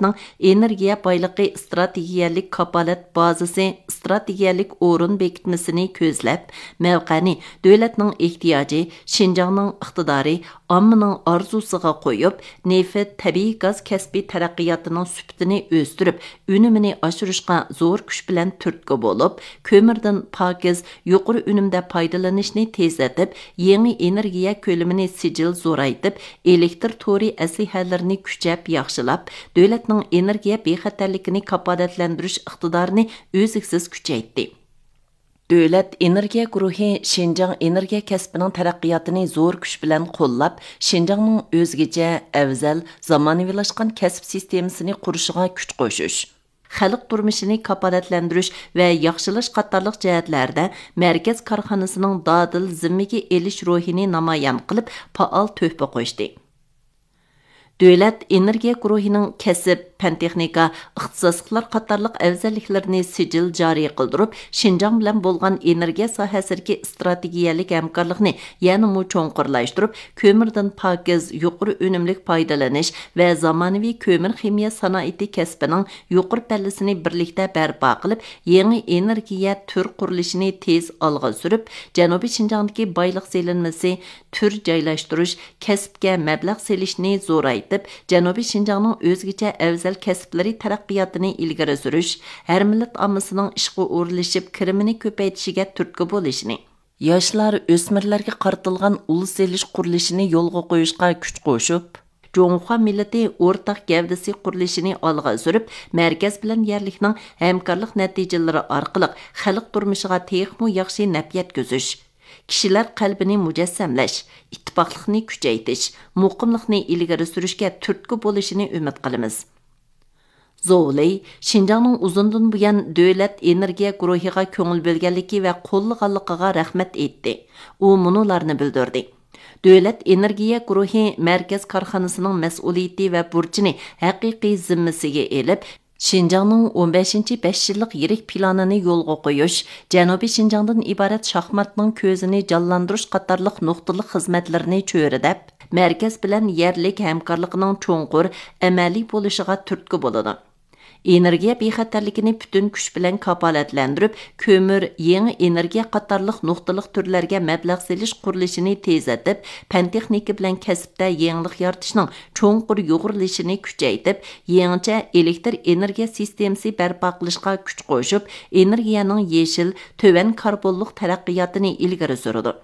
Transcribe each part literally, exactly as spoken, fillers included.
دۆلەتنىڭ ئېنېرگىيە بايلىقى ئىستراتېگىيەلىك كاپالەت بازىسى ئىستراتېگىيەلىك ئورۇن بېكىتمىسىنى كۆزلەپ، مەۋقەنى دۆلەتنىڭ ئېھتىياجى، شىنجاڭنىڭ ئىقتىدارى، ئاممىنىڭ ئارزۇسىغا قويۇپ، نېفىت، تەبىئىي گاز كەسپى تەرەققىياتىنىڭ سۈپىتىنى ئۆستۈرۈپ، ئۈنۈمىنى ئاشۇرۇشقا زور كۈچ بىلەن تۈرتكە بولۇپ، كۆمۈردىن پاكىز، يۇقىرى ئۈنۈمدە پايدىلىنىشنى تېزلىتىپ، يېڭى ئېنېرگىيە كۆلىمىنى سىجىل زورايتىپ، ئېلېكتر تورى ئەسلىھەلىرىنى كۈچەپ ياخشىلاپ، دۆلەتنىڭ ئېنېرگىيە بىخەتەرلىكىنى كاپالەتلەندۈرۈش ئىقتىدارىنى ئۈزلۈكسىز كۈچەيتتى. دۆلەت ئېنېرگىيە گۇرۇھى شىنجاڭ ئېنېرگىيە كەسپىنىڭ تەرەققىياتىنى زور كۈچ بىلەن قوللاپ، شىنجاڭنىڭ ئۆزگىچە، ئەۋزەل، زامانىۋىلاشقان كەسىپ سىستېمىسىنى قۇرۇشىغا كۈچ قوشۇش، خەلق تۇرمۇشىنى كاپالەتلەندۈرۈش ۋە ياخشىلاش قاتارلىق جەھەتلەردە مەركەز كارخانىسىنىڭ دادىل زىممىگە ئېلىش روھىنى نامايان قىلىپ، پائال تۆھپە قوشتى. دۆلەت ئېنېرگىيە گۇرۇھىنىڭ كەسىپ، پەن-تېخنىكا، ئىختىساسلىقلار قاتارلىق ئەۋزەللىكلىرىنى سىجىل جارى قىلدۇرۇپ، شىنجاڭ بىلەن بولغان ئېنېرگىيە ساھەسىدىكى ئىستراتېگىيەلىك ھەمكارلىقنى يەنىمۇ چوڭقۇرلاشتۇرۇپ، كۆمۈردىن پاكىز، يۇقىرى ئۈنۈملۈك پايدىلىنىش ۋە زامانىۋى كۆمۈر خىمىيە سانائىتى كەسپىنىڭ يۇقىرى پەللىسىنى بىرلىكتە بەرپا قىلىپ، يېڭى ئېنېرگىيە تۈر قۇرۇلۇشىنى تېز ئالغا سۈرۈپ، جەنۇبىي شىنجاڭدىكى بايلىق سېلىنمىسى، تۈر جايلاشتۇرۇش، كەسىپكە مەبلەغ سېلىشنى زورايتىپ، جەنۇبىي شىنجاڭنىڭ ئۆزگىچە ئەۋزەل كەسىپلىرى تەرەققىياتىنى ئىلگىرى سۈرۈش، ھەر مىللەت ئاممىسىنىڭ ئىشقا ئورۇنلىشىپ، كىرىمىنى كۆپەيتىشىگە تۈرتكە بولۇشنى، ياشلار، ئۆسمۈرلەرگە قارىتىلغان ئۇل سېلىش قۇرۇلۇشىنى يولغا قويۇشقا كۈچ قوشۇپ، جۇڭخۇا مىللىتى ئورتاق گەۋدىسى قۇرۇلۇشىنى ئالغا سۈرۈپ، مەركەز بىلەن يەرلىكنىڭ ھەمكارلىق نەتىجىلىرى ئارقىلىق خەلق تۇرمۇشىغا تېخىمۇ ياخشى نەپ يەتكۈزۈش، كىشىلەر قەلبىنى مۇجەسسەملەش، ئىتتىپاقلىقنى كۈچەيتىش، مۇقىملىقنى ئىلگىرى سۈرۈشكە تۈرتكە بولۇشىنى ئۈمىد قىلىمىز. زوۋ لېي شىنجاڭنىڭ ئۇزۇندىن بۇيان دۆلەت ئېنېرگىيە گۇرۇھىغا كۆڭۈل بۆلگەنلىكى ۋە قوللىغانلىقىغا رەھمەت ئېيتتى. ئۇ مۇنۇلارنى بىلدۈردى: دۆلەت ئېنېرگىيە گۇرۇھى مەركەز كارخانىسىنىڭ مەسئۇلىيىتى ۋە بۇرچىنى ھەقىقىي زىممىسىگە ئېلىپ، شىنجاڭنىڭ ئون بەشىنچى بەش يىللىق يىرىك پىلانىنى يولغا قويۇش، جەنۇبىي شىنجاڭدىن ئىبارەت شاھماتنىڭ كۆزىنى جانلاندۇرۇش قاتارلىق نۇقتىلىق خىزمەتلىرىنى چۆرىدەپ، مەركەز بىلەن يەرلىك ھەمكارلىقىنىڭ چوڭقۇر، ئەمەلىي بولۇشىغا تۈرتكە بولىدۇ. ئېنېرگىيە بىخەتەرلىكىنى پۈتۈن كۈچ بىلەن كاپالەتلەندۈرۈپ، كۆمۈر، يېڭى ئېنېرگىيە قاتارلىق نۇقتىلىق تۈرلەرگە مەبلەغ سېلىش قۇرۇلۇشىنى تېزلىتىپ، پەن-تېخنىكا بىلەن كەسىپتە يېڭىلىق يارىتىشنىڭ چوڭقۇر يۇغۇرۇلۇشىنى كۈچەيتىپ، يېڭىچە ئېلېكتر ئېنېرگىيە سىستېمىسى بەرپا قىلىشقا كۈچ قوشۇپ، ئېنېرگىيەنىڭ يېشىل، تۆۋەن كاربونلۇق تەرەققىياتىنى ئىلگىرى سۈرىدۇ.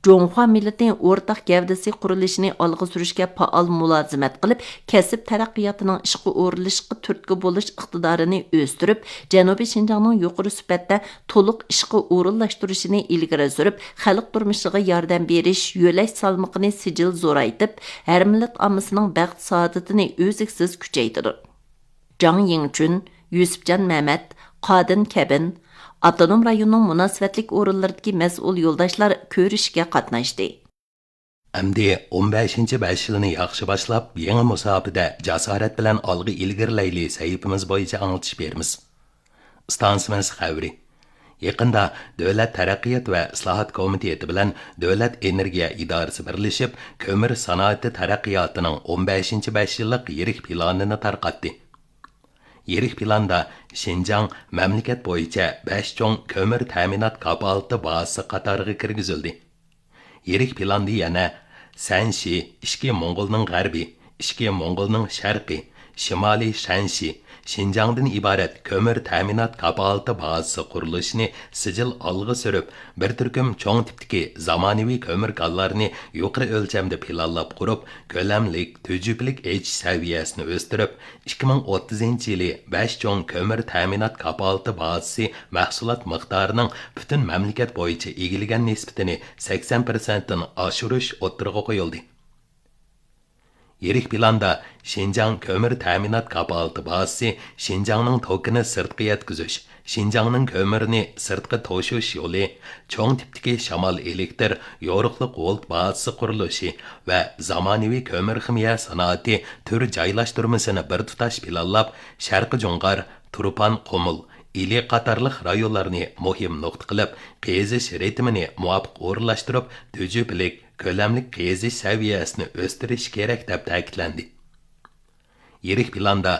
جۇڭخۇا مىللىتى ئورتاق گەۋدىسى قۇرۇلۇشىنى ئالغا سۈرۈشكە پائال مۇلازىمەت قىلىپ، كەسىپ تەرەققىياتىنىڭ ئىشقا ئورۇنلىشىشقا تۈرتكە بولۇش ئىقتىدارىنى ئۆستۈرۈپ، جەنۇبىي شىنجاڭنىڭ يۇقىرى سۈپەتتە تولۇق ئىشقا ئورۇنلاشتۇرۇشىنى ئىلگىرى سۈرۈپ، خەلق تۇرمۇشىغا ياردەم بېرىش يۆلەش سالمىقىنى سىجىل زورايتىپ، ھەر مىللەت ئاممىسىنىڭ بەخت-سائادىتىنى ئۈزلۈكسىز كۈچەيتىدۇ. جاڭ يىڭچۈن، يۈسۈپجان مەمەت، قادىن كەبىن ئاپتونوم رايوننىڭ مۇناسىۋەتلىك ئورۇنلىرىدىكى مەسئۇل يولداشلار كۆرۈشۈشكە قاتناشتى. ئەمدى ئون بەشىنچى بەش يىلنى ياخشى باشلاپ، يېڭى مۇساپىدە جاسارەت بىلەن ئالغا ئىلگىرىلەيلى سەھىپىمىز بويىچە ئاڭلىتىش بېرىمىز. ئىستانسىمىز خەۋىرى. يېقىندا دۆلەت تەرەققىيات ۋە ئىسلاھات كومىتېتى بىلەن دۆلەت ئېنېرگىيە ئىدارىسى بىرلىشىپ، كۆمۈر سانائىتى تەرەققىياتىنىڭ ئون بەشىنچى بەش يىللىق يىرىك پىلانىنى تارقاتتى. يىرىك پىلاندا شىنجاڭ مەملىكەت بويىچە بەش چوڭ كۆمۈر تەمىنات كاپالىتى بازىسى قاتارىغا كىرگۈزۈلدى. يىرىك پىلاندا يەنە سەنشى، ئىچكى موڭغۇلنىڭ غەربى، ئىچكى موڭغۇلنىڭ شەرقى، شىمالىي شەنشى، شىنجاڭدىن ئىبارەت كۆمۈر تەمىنات كاپالىتى بازىسى قۇرۇلۇشىنى سىجىل ئالغا سۈرۈپ، بىر تۈركۈم چوڭ تىپتىكى زامانىۋى كۆمۈر كانلارنى يۇقىرى ئۆلچەمدە پىلانلاپ قۇرۇپ، كۆلەملىك، تۈجۈپىلىك ئېچىش سەۋىيەسىنى ئۆستۈرۈپ، ئىككى مىڭ ئوتتۇزىنچى يىلى بەش چوڭ كۆمۈر تەمىنات كاپالىتى بازىسى مەھسۇلات مىقدارىنىڭ پۈتۈن مەملىكەت بويىچە ئىگىلىگەن نىسبىتىنى سەكسەن پىرسەنتتىن ئاشۇرۇش ئوتتۇرىغا قويۇلدى. يىرىك پىلاندا شىنجاڭ كۆمۈر تەمىنات كاپالىتى بازىسى شىنجاڭنىڭ توكىنى سىرتقا يەتكۈزۈش، شىنجاڭنىڭ كۆمۈرىنى سىرتقا توشۇش يولى، چوڭ تىپتىكى شامال ئېلېكتىر يورۇقلۇق ۋولت بازىسى قۇرۇلۇشى ۋە زامانىۋى كۆمۈر خىمىيە سانائىتى تۈر جايلاشتۇرمىسىنى بىر تۇتاش پىلانلاپ، شەرقىي جۇڭغار، تۇرپان قۇمۇل، ئىلى قاتارلىق رايونلارنى مۇھىم نۇقتا قىلىپ، قېزىش رىتىمىنى مۇۋاپىق ئورۇنلاشتۇرۇپ، تۈجۈپىلىك، كۆلەملىك قېزىش سەۋىيەسىنى ئۆستۈرۈش كېرەك، دەپ تەكىتلەندى. يىرىك پىلاندا